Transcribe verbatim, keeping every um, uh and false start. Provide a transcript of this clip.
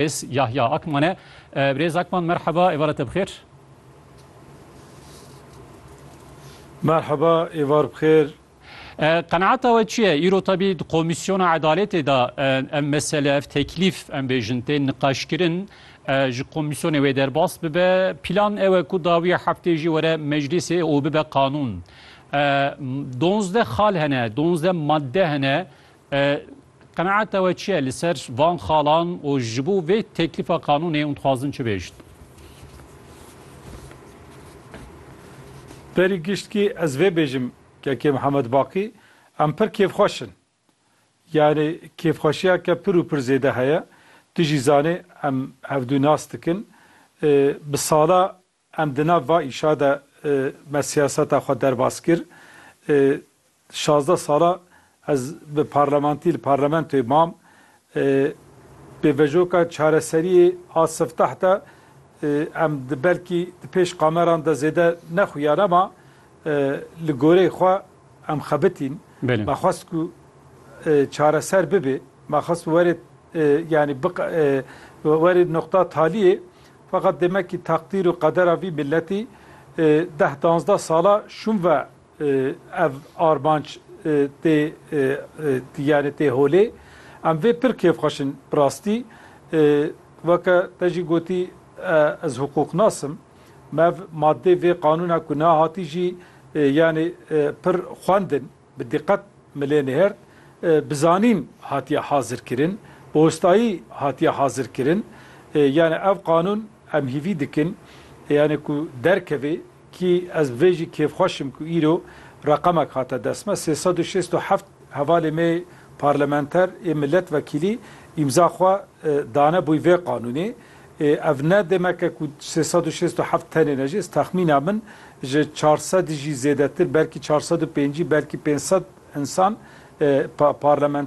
Birêz Yahya Akman e. E, Birêz Akman, merheba, êvara te bi xêr. Merheba, êvar bi xêr. E, qenaeta we çi ye? Îro tebî di Komîsyona Edaletê de, e, ev mesele, ev teklîf, em bêjin, tê niqaşkirin, e, ji komîsyonê wê derbas bibe. Plan ew e ku dawiya heftê jî were meclîsê û bibe qanûn. E, donzdeh xal hene, donzdeh madde hene. E, qenaeta we çi ye li ser van xalan û ji bo vê teklîfa qanûnê hûn dixwazin çi bêjin? Berî giştkî ez vê bêjim, Kekê Mihemed Baqî, em pir kêfxweş in. Yani kêfxweşiyeke pir û pir zêde heye. Tu jî zanî em hevdû nas dikin. E, bi sala em di nav va îşa de, e, me siyaseta xwe derbas kir. E, şazdeh sala ez bi parlamentî li parlamentoyê mam. E, pêvejoka çareseriyê a sifteh de, e, em di belkî di pêş kameran de zêde nexuyan, ama, e, li goreyê xwe em xebitîn. Belê. Me xwest ku, e, çareser bibe. Me xwest werê, e, yani biq-, e, werê noqta taliyê. Feqet demek ki takdîr û qedera vî milletî, e, deh danzdeh sala şûn ve, e, ev armanc, e, tê, e, e, yani tê holê. Em vê pir kêfxweş in bi rastî. E, weke te jî gotî, e, ez hiqûqnas im. Me ev madê vê qanûna ku nehatî jî, e, yani, e, pir xwendin, bi diqet milê nihert, e, bi zanîn hatiye hazir kirin, bi ostayî hatiye hazir kirin. E, yani ev qanûn em hîvî dikin, e, yani ku derkeve, kî ez vê jî kêfxweş im ku îro reqemek hate dest me. Sê sed û şêst û heft hevalê me parlamenter ê milletvekîlî îmza xwe, e, dane bûyî vê qanûnê. E, ev ne demeke ku sê sed û şêst û heft tenê ne jî, ez texmîna min ji çar sed jî zêdetir, belkî çar sed û pêncî, belkî pênc sed insan, e, pa-, parlamenter